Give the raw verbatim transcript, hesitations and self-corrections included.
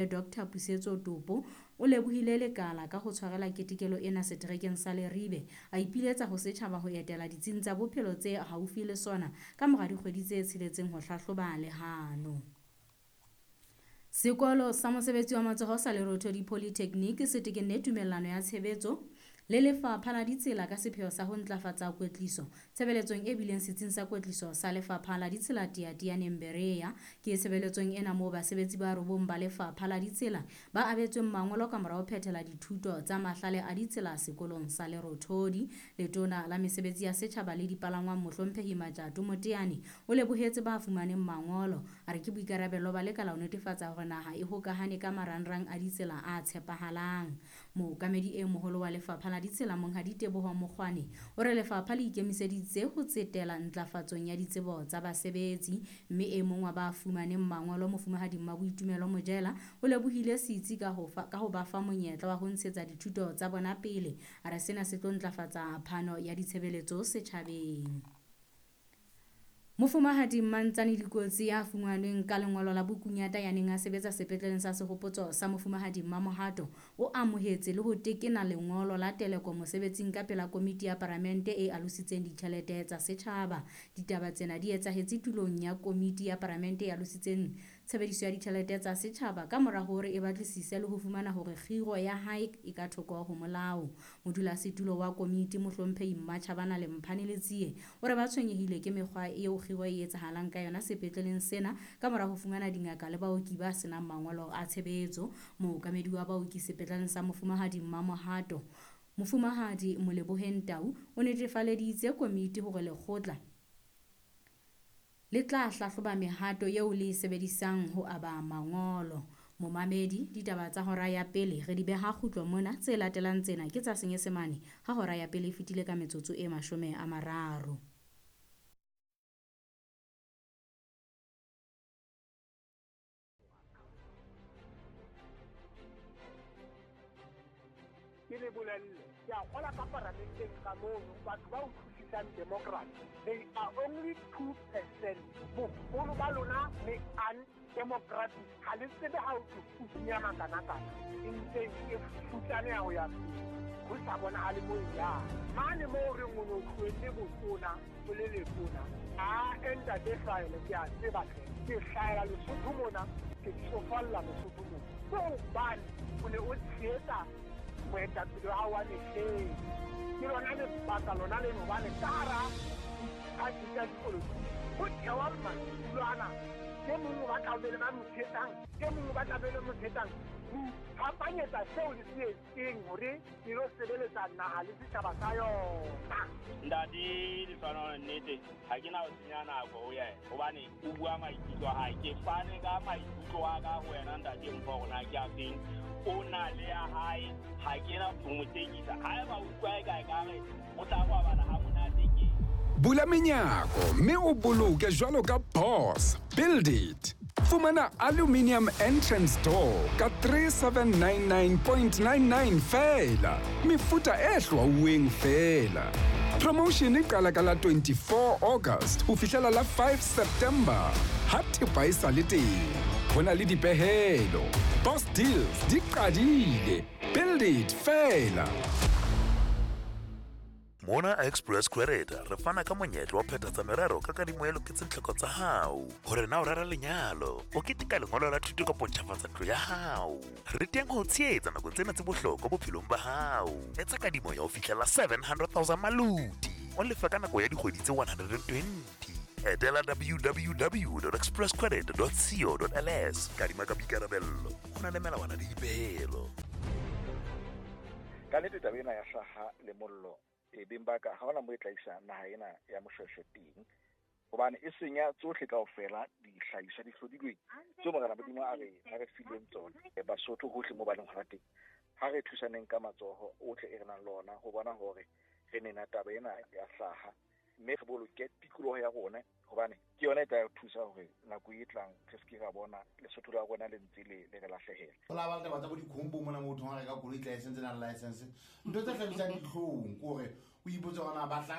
Doctor Pusetso Topo o lebohile lekala ka ho tshwarela ketekelo ena seterekeng sa Leribe. A ipiletsa ho setjhaba ho etela ditsing tsa bophelo tse haufi le sona ka mora dikgwedi tse tsheletseng ho hlahloba lehano. Sekolo sa mosebetsi wa matsoho sa Lerothodi Polytechnic se tekenne tumellano ya tshebetso le Lefapha la Ditsela ka sepheo sa ho ntlafatsa kwetliso tshebeletsong e bileng setsing sa kwetliso sa Lefapha la Ditsela Teyateyaneng Berea. Ke tshebeletsong ena moo basebetsi ba robong ba Lefapha la Ditsela ba abetsweng mangolo ka mora ho phethela dithuto tsa mahlale a ditsela sekolong sa Lerothodi. Letona la Mesebetsi ya Setjhaba le Dipalangwang Mohlomphehi Matjato Moteane o lebohetse ba fumaneng mangolo. A re ke boikarabelo ba lekala ho netefatsa hore naha e hokahane ka marangrang a ditsela a tshepahalang. Mookamedi e moholo wa Lefapha la Ditsela Monghadi Teboho Mokgwane o re lefapha le ikemiseditse ho tsetela ntlafatsong ya ditsebo tsa basebetsi, mme e mong wa ba fumaneng mangolo Mofumahadi Mmaboitumelo Mojela o lebohile setsi ka ho fa, ka ho ba fa monyetla wa ho ntshetsa dithuto tsa bona pele. A re sena se tlo ntlafatsa phano ya ditshebeletso setjhabeng. Mofumahadi Mmantsane Dikotsi ya fumanweng ka lengolo la bokunyata ya neng a sebetsa sepetleleng sa Sehopotso sa Mofumahadi Mmamohato o amohetse le ho tekena lengolo la teleko mosebetsing ka pela komiti ya paramente e alositseng ditjhelete tsa setjhaba. Ditaba tsena di etsahetse tulong ya komiti ya paramente e alositseng tshebediso ya ditjhelete tsa setjhaba ka mora hore e batlisise le ho fumana hore kgiro ya hae e ka thoko ho molao. Modulasetulo wa komiti Mohlomphehi Mmatjhabana Lemphane Letsie o re ba tshwenyehile ke mekgwa eo kgiro e etsahalang ka yona sepetleleng sena ka mora ho fumana dingaka le baoki ba senang mangolo a tshebetso. Mookamedi wa baoki sepetleleng sa Mofumahadi Mmamohato Mofumahadi Moleboheng Tau o netefaleditse komiti hore lekgotla le tla hlahloba mehato eo le e sebedisang ho aba mangolo. Momamedi, ditaba tsa hora ya pele re di beha kgutlo mona. Tse latelang tsena ke tsa Senyesemane ha hora ya pele e fetile ka metsotso e mashome a mararo. Ke le bolelle, ke a kgola ka paramenteng ka mono, batho ba utlwisisang democracy, they are only two percent. Boholo ba lona le undemocratic, ha le tsebe ha o tlo makanakana, e ntse e futsaneha ho ya pele, ho sa bonahale moo e yang. Mane moo re o no tlohetse botona, o le letona, a ntate Hlahele, ke a tseba hle, ke hlahela Lesotho mona, ke tsofalla Lesotho mona. Ke hobane o ne o tshehetsa moetapele wa hao wa mehleng. Ke lona lebaka lona leno hobane ka hara diphathi tsa dipolotiki ho thewa madulo ana. E mong o batla ho be le ba mo tshehetsang, e mong o batla ho be le mo tshehetsang. Ho iphapanyetsa seo le se etseng hore le lo sebeletsa naha le setjhaba sa yona. Ntate Lefano, nnete ha ke na ho senya nako ho yena hobane o bua maikutlo a hae. Ke fane ka maikutlo a ka ho wena ntate Mpho hore na ke a feng. O na le ya hae, ha ke na ho mo tekisa. Haeba o utlwa e kae ka re o tla robala ha monate ke. Bula menyako mme o boloke jwalo ka boss. Build it. Fumana aluminium entrance door ka three seven nine nine point nine nine feela. Mefuta e hlwauweng feela. Promotion e qala ka la twenty-four August ho fihlela la five September. Ha thepa e sa le teng, ho na le dipehelo. Boss deals di qadile. Build it feela. Mona Express Credit re fana ka monyetla wa phethatsa merero ka kadimo e loketseng tlhoko tsa hao. Hore na o rera lenyalo, o keteka lengolo la thuto kapa ntjhafatsa ntlo ya hao. Re teng ho tshehetsa nakong tsena tse bohlokwa bophelong ba hao. Etsa kadimo ya ho fihlela seven hundred thousand maluti. O lefa ka nako ya dikgwedi tse one hundred and twenty. Etela w w w dot express credit dot co dot l s. Kadima ka boikarabello. Ho na le melawana le dipehelo. Ka nnete taba ena ya hlaha le mollo e beng ba ka ha hona mo e tla isa naha ena ya Moshweshwe teng, hobane e senya tsohle kaofela dihlahiswa di hlodilweng tseo Morena Modimo a re a re fileng tsona. Basotho hohle mo ba leng hona teng, ha re thusaneng ka matsoho ohle e re nang le ona ho bona hore re nena taba ena ya hlaha, mme re boloke tikoloho ya rona, hobane ke yona e tla re thusa hore nako e tlang re se ke ra bona Lesotho la rona le ntse le le re lahlehela. Ho la ba le taba tsa bo dikhombo mona motho ha reka koloi license na license, ntho tse hlabisang dihlong ke hore o ipotse hore na ba